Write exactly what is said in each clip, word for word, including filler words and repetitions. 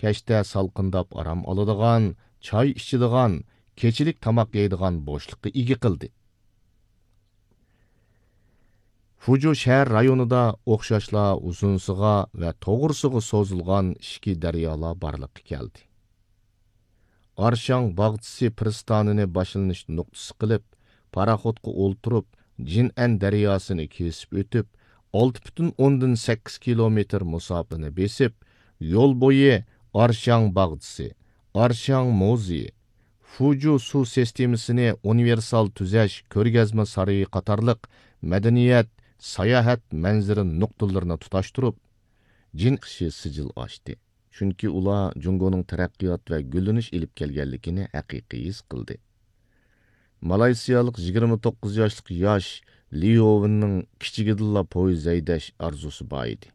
كەچتە سالقىنداپ ئارام ئالىدىغان، چاي ئىچىدىغان، كېچىلىك تاماق يەيدىغان بوشلۇققا ئىگە قىلدى. فۇجۇ شەھەر رايونىدا ئوخشاشلا ئۇزۇنسىغا ۋە توغرىسىغا سوزۇلغان ئىچكى دەريالار بارلىققا كەلدى. ئارشاڭ باغچىسى پىرىستانىنى باشلىنىش نۇقتىسى قىلىپ، پاراخوتقا ئولتۇرۇپ، جىنئەن دەرياسىنى كېسىپ ئۆتۈپ، ئالتە پۈتۈن ئوندىن سەككىز كىلومېتىر مۇساپىنى بېسىپ، يول بويى ئارشاڭ باغچىسى، ئارشاڭ مۇزېيى، فۇجۇ سۇ سىستېمىسىنى ئۇنىۋېرسال تۈزەش كۆرگەزمە سارىيى قاتارلىق مەدەنىيەت، ساياھەت مەنزىرە نۇقتىلىرىنى تۇتاشتۇرۇپ، جىن ئىشى سىجىل ئاشتى. چۈنكى ئۇلار جۇڭگونىڭ تەرەققىيات ۋە گۈللىنىش ئېلىپ كەلگەنلىكىنى ھەقىقىي ھېس قىلدى. مالايسىيالىق يىگىرمە توققۇز ياشلىق ياش ليوۋېننىڭ كىچىكىدىنلا پويىز ھەيدەش ئارزۇسى بار ئىدى.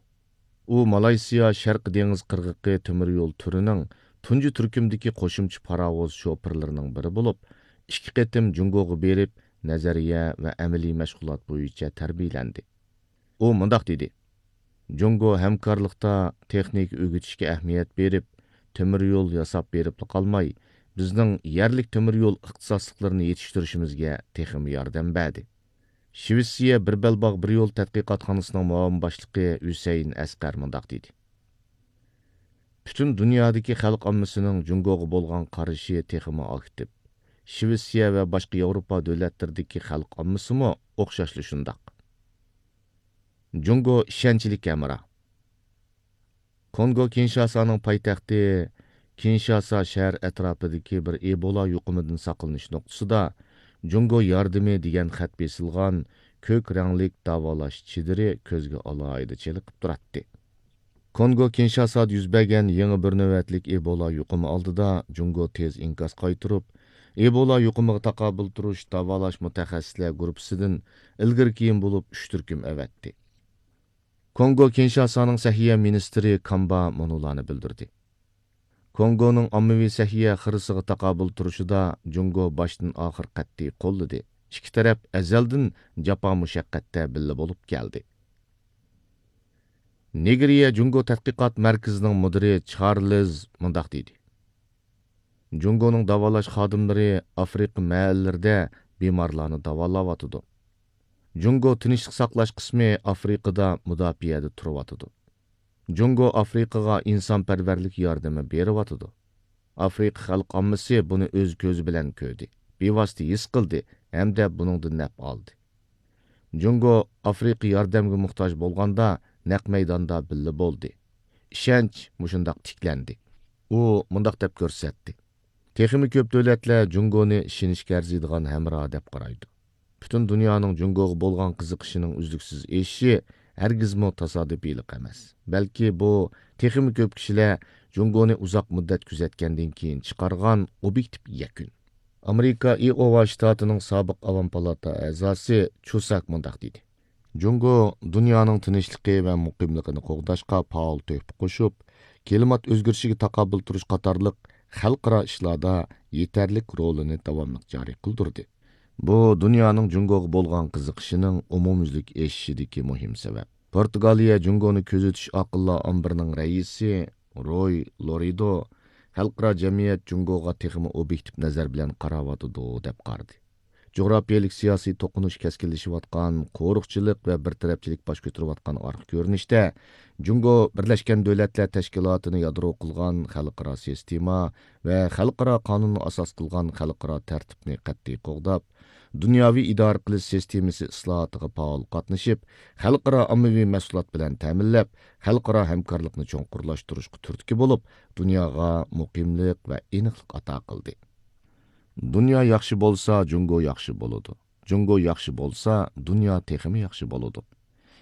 ئۇ مالايسىيا شەرقىي دېڭىز قىرغىقى تۆمۈر يول تۈرىنىڭ تۇنجى تۈركۈمدىكى قوشۇمچە پاراۋۇز شوپۇرلىرىنىڭ بىرى بولۇپ، ئىككى قېتىم جۇڭگوغا بېرىپ، نەزەرىيە ۋە ئەمەلىي مەشغۇلات بويىچە تەربىيەلەندى. ئۇ مۇنداق دېدى: جۇڭگو ھەمكارلىقتا تېخنىكا ئۆگىتىشكە ئەھمىيەت بېرىپ، تۆمۈر يول ياساپ بېرىپلا قالماي، بىزنىڭ يەرلىك تۆمۈر يول ئىختىساسلىقلىرىنى يېتىشتۈرۈشىمىزگە تېخىمۇ ياردەم بەردى. شىۋېتسىيە بىر بەلباغ بىر يول تەتقىقاتخانىسىنىڭ مۇئاۋىن باشلىقى ھۈسەيىن ئەسقەر مۇنداق دېدى: پۈتۈن دۇنيادىكى خەلق ئاممىسىنىڭ جۇڭگوغا بولغان قارىشى تېخىمۇ ئاكتىپ. شىۋېتسىيە ۋە باشقا ياۋروپا دۆلەتلىرىدىكى خەلق ئاممىسىمۇ ئوخشاشلا شۇنداق. جۇڭگو ئىشەنچلىك ھەمراھ. كونگو كىنشاسانىڭ پايتەختى كىنشاسا شەھەر ئەتراپىدىكى بىر ئېبولا يۇقۇمىدىن ساقلىنىش نۇقتىسىدا جۇڭگو ياردىمى دېگەن خەت بېسىلغان كۆك رەڭلىك داۋالاش چېدىرى كۆزگە ئالاھىدە چېلىقىپ تۇراتتى. كونگو كىنشاسادا يۈز بەرگەن يېڭى بىر نۆۋەتلىك ئېبولا يۇقۇمى ئالدىدا جۇڭگو تېز ئىنكاس قايتۇرۇپ، ئېبولا يۇقۇمىغا تاقابىل تۇرۇش داۋالاش مۇتەخەسسىسلەر گۇرۇپپىسىدىن ئىلگىرى كېيىن بولۇپ ئۈچ تۈركۈم ئەۋەتتى. كونگو كىنشاسانىڭ سەھىيە مىنىستىرى كامبا مۇنۇلارنى بىلدۈردى: كونگونىڭ ئاممىۋى سەھىيە خىرىسىغا تاقابىل تۇرۇشىدا جۇڭگو باشتىن ئاخىر قەتئىي قوللىدى. ئىككى تەرەپ ئەزەلدىن جاپا مۇشەققەتتە بىللە بولۇپ كەلدى. نېگرىيە جۇڭگو تەتقىقات مەركىزىنىڭ مۇدىرى چارلىز مۇنداق دېدى: جۇڭگونىڭ داۋالاش خادىملىرى ئافرىقا مەھەللىلىرىدە بىمارلارنى داۋالاۋاتىدۇ. جۇڭگو تىنچلىق ساقلاش قىسمى ئافرىقىدا مۇداپىئەدە تۇرۇۋاتىدۇ. جۇڭگو ئافرىقىغا ئىنسانپەرۋەرلىك ياردىمى بېرىۋاتىدۇ. ئافرىقا خەلق ئاممىسى بۇنى ئۆز كۆزى بىلەن كۆردى، بىۋاسىتە ھېس قىلدى ھەمدە بۇنىڭدىن نەپ ئالدى. جۇڭگو ئافرىقا ياردەمگە موھتاج بولغاندا نەق مەيداندا بىللە بولدى. ئىشەنچ مۇشۇنداق تىكلەندى. ئۇ مۇنداق دەپ كۆرسەتتى: تېخىمۇ كۆپ دۆلەتلەر جۇڭگونى ئىشىنىشكە ئەرزىيدىغان ھەمراھ دەپ قارايدۇ. پۈتۈن دۇنيانىڭ جۇڭگوغا بولغان قىزىقىشىنىڭ ئۈزلۈكسىز ئېشىشى ھەرگىزمۇ تاسادىپىيلىق ئەمەس، بەلكى بۇ تېخىمۇ كۆپ كىشىلەر جۇڭگونى ئۇزاق مۇددەت كۆزەتكەندىن كېيىن چىقارغان ئوبيېكتىپ يەكۈن. ئامېرىكا ئىئوۋا شتاتىنىڭ سابىق ئاۋام پالاتا ئەزاسى چۇساك مۇنداق دېدى: جۇڭگو دۇنيانىڭ تىنچلىقى ۋە مۇقىملىقىنى قوغداشقا پائال تۆھپە قوشۇپ، كىلىمات ئۆزگىرىشىگە تاقابىل تۇرۇش قاتارلىق خەلقئارا ئىشلاردا يېتەرلىك رولىنى داۋاملىق جارى قىلدۇردى. بۇ دۇنيانىڭ جۇڭگوغا بولغان قىزىقىشىنىڭ ئومۇميۈزلۈك ئېشىشىدىكى مۇھىم سەۋەب. پورتۇگالىيە جۇڭگونى كۆزىتىش ئاقىللار ئامبىرىنىڭ رەئىسى روي لورىدو خەلقئارا جەمئىيەت جۇڭگوغا تېخىمۇ ئوبيېكتىپ نەزەر بىلەن قاراۋاتىدۇ دەپ قارىدى. جۇغراپىيەلىك سىياسىي توقۇنۇش كەسكىنلىشىۋاتقان، قورۇقچىلىق ۋە بىر تەرەپچىلىك باش كۆتۈرۈۋاتقان ئارقا كۆرۈنۈشتە، جۇڭگو بىرلەشكەن دۆلەتلەر تەشكىلاتىنى يادرو قىلغان خەلقئارا سىستېما ۋە خەلقئارا قانۇننى ئاساس قىلغان خەلقئارا تەرتىپنى قەتئىي قوغداپ، دۇنياۋى ئىدارە قىلىش سىستېمىسى ئىسلاھاتىغا پائال قاتنىشىپ، خەلقئارا ئاممىۋى مەھسۇلات بىلەن تەمىنلەپ، خەلقئارا ھەمكارلىقنى چوڭقۇرلاشتۇرۇشقا تۈرتكە بولۇپ، دۇنياغا مۇقىملىق ۋە ئېنىقلىق ئاتا قىلدى. دۇنيا ياخشى بولسا، جۇڭگو ياخشى بولىدۇ. جۇڭگو ياخشى بولسا، دۇنيا تېخىمۇ ياخشى بولىدۇ.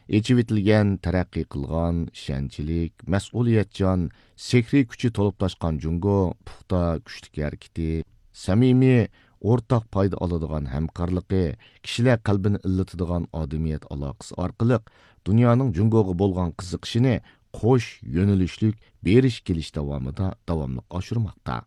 ئېچىۋېتىلگەن، تەرەققىي قىلغان، ئىشەنچلىك، مەسئۇلىيەتچان، سېھرىي كۈچى تولۇپ تاشقان جۇڭگو پۇختا، كۈچلۈك ھەرىكىتى، سەمىمىي، ئورتاق پايدا ئالىدىغان ھەمكارلىقى، كىشىلەر قەلبىنى ئىللىتىدىغان ئادىمىيەت ئالاقىسى ئارقىلىق دۇنيانىڭ جۇڭگوغا بولغان قىزىقىشىنى قوش يۆنىلىشلىك بېرىش كېلىش داۋامىدا داۋاملىق ئاشۇرماقتا.